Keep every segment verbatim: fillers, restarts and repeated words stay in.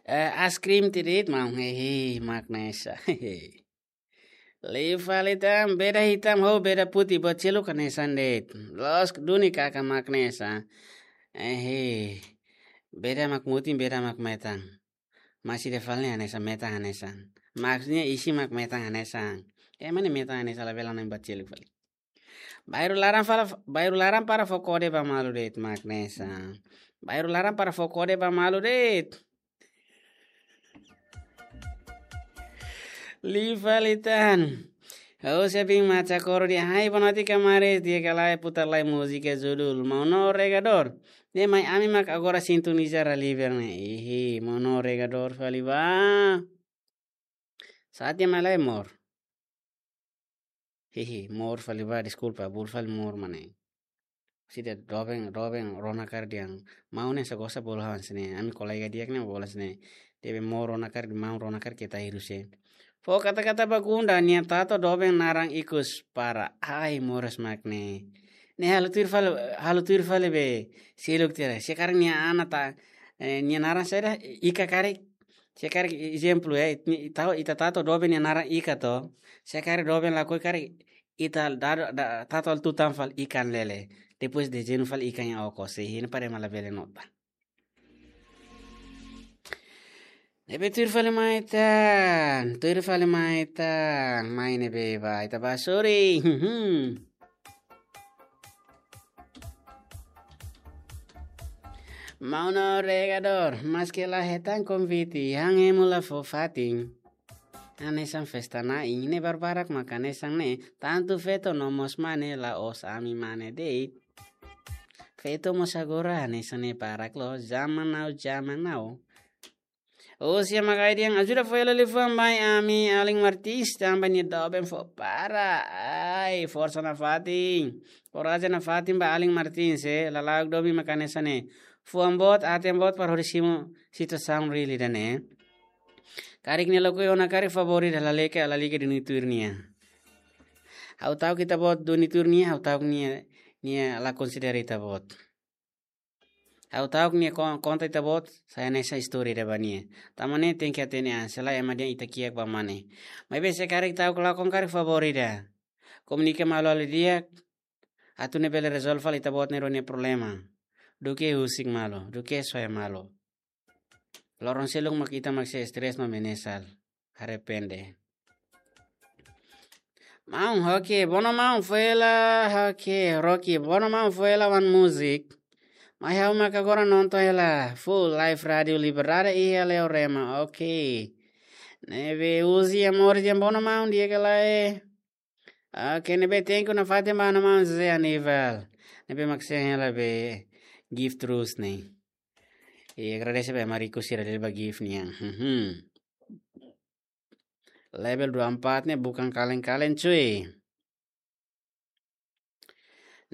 Eh, ice cream tiha de'it, maun, hehe, mak hanesan. Liu fali tan, beda hitam ho beda putih, buat seluk hanesan de'it. Loos duni kaka mak hanesan. Ehe. Beda mak mutin, beda mak metan. Maibé ida fali ne'e hanesan, metan hanesan. Maksudnya isi mak metan hanesan. Ema ne'e metan hanesan, labele na'in buat seluk fali. Bairru laran fala, bairru laran para fó kode ba malu de'it, mak hanesan. Bairru laran para fó kode ba malu de'it. Liu fali tan. Ha'u sei bin macha koro de'it, hai, boa noite, kamares, di'ak ka lae, putar lai múzika judul Maun no Regador. Ne'e mai ami mak agora sintoniza Raliber ne'e. Ihi, Maun no Regador fali ba. Saat dia malai mor. Hihi, mor fali ba, deskulpa, bolu fali mor mane. Sida doben, doben, rona karik dehan. Maun ne'e sá gosta bolu hanesan ne'e, ami kolega di'ak ne'e bolu hanesan ne'e. Tebe mor rona karik, maun rona karik keta hiru se. Fó kata-kata ba Gunda, nia tatu doben naran ikus para. Ai, moras mak ne'e. Ne'e halo tuir fali, halo tuir fali be. Seluk tiha. Se karik nia ana ta, eh, nia naran saida, Ika karik. Se karik ezemplu, eh, ni-, tau ita tatu doben nia naran Ika to. Se karik doben lakohi karik ita dado, da, tatu halo tutan fali ikan lele. Depois dezeñu fali ikan nia okos. Ihi, ne'e para ema labele nota. Ne'ebé tuir fali mai tan, tuir fali mai tan, mai ne'ebé ba, ita ba, sorry. Maun no Regador, maske la hetan konvite, han ema la fó fatin. Hanesan festa na'in, ne'e barbarak mak hanesan ne'e, tantu feto no mós mane, la'ós ami mane de'it. Feto mós agora hanesan ne'e barak loos, zaman now, zaman now. Husi Magai dehan, ajuda fó hela liafuan ba ami Alin Martins, tanba nia doben fó para. Ai, forsa nafatin. Korajen nafatin ba Alin Martins, eh, lala'ok domin mak hanesan ne'e. Fuan boot, aten boot para hodi simu situasaun real ida-ne'e. Karik nia lakohi ona karik favór ida, lalika, lalika duni tuir nia. Ha'u ta'uk ita-boot duni tuir nia, ha'u ta'uk nia, nia la konsidera ita-boot. Ha'u ta'uk nia kon-, konta ita-boot, sai hanesan istória ida ba nia. Tanba ne'e tenke hatene an, se lae ema dehan ita kiak ba mane. Maibé se karik ta'uk lakon karik favór ida. Komunika malu halo di'ak, atu nune'e bele rezolve fali ita-boot nia rua nia problema. Duké husik malu, duké soe malu. Loron seluk mak ita mak sei stress no menyesal. Arrepende. Maun, oke, bono maun, fó hela, oke, Rocky, bono maun, fó hela wan múzika. Mai ha'u mak agora nonton hela, full live Rádio Liberdade iha Leorema, oke. Ne'ebé husi Amor dehan bono maun, di'ak ka lae. Oke, ne'ebé thank you nafatin ba maun José Aníbal. Ne'ebé mak sei hela be gift terus ne'e. I agradese ba ema riku sira dele ba gift nian. Mhm. Level dua empat ne'e bukan kaleng-kaleng, cuy.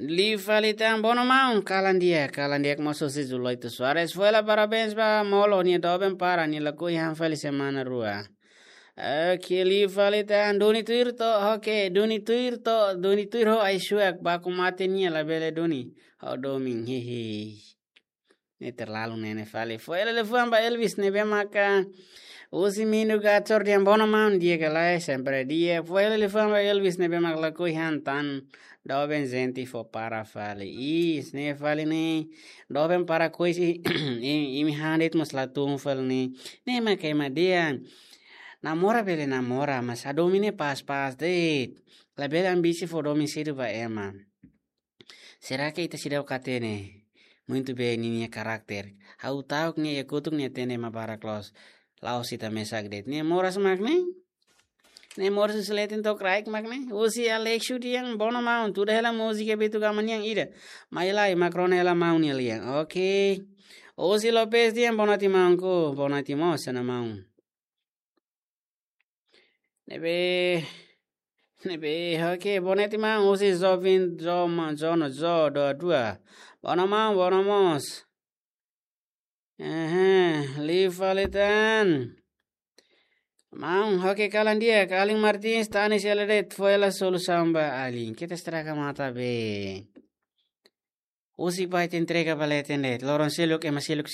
Liu fali tan bono maun, kalan di'ak, kalan di'ak mós husi Zuloito Soares. Fó hela parabéns ba Molo, nia doben para, nia lakohi han fali semana rua. Oke, liu fali tan duni tuir to, oke, duni tuir to, duni tuir ho ai-suak, baku mate nia labele duni. Ho domin, hehe. Ne'e terlalu nene fali. Fó hela liafuan ba Elvis ne'ebé maka husi Mindu Gacor dehan bono maun, di'ak ka lae, sempre di'ak. Fó hela liafuan ba Elvis ne'ebé mak lakohi han tan doben jente fó para fali. Is, ne'e fali ne'e. Doben para kois i, i, imi han de'it mós la tun fali ne'e. Ne'e mak ema dehan. Namora bele namora, mas hadomi ne'e pas-pas de'it. Labele ambisi fó domin sedu ba ema. Será que ita seidauk hatene? Muito bem, ninia karakter. Ha'u ta'uk nia iha kotuk nia hatene ema barak loos. La'ós ita mesak de'it. Nia moras mak ne'e? Nia moras husi leten to'o kraik mak ne'e? Husi Alexio dehan bono maun, tuda hela múzika Beto Gama nian ida. Mai lai, mak rona hela maun nia lian. Oke. Husi Lopez dehan boa noite maunku, boa noite mós, sana maun. Ne'ebé, ne'ebé, oke, boa noite maun, husi Jovem Joma, Jono, Jo, Doa, Dua. Bono maun, bono mós. Ehe, liu fali tan. Maun, oke, kalan di'ak, Alin Martins, Tanis hela de'it, fó hela solusaun ba Alin. Keta estraga mata be. Husik ba ita entrega ba leten de'it. Loron seluk, ema seluk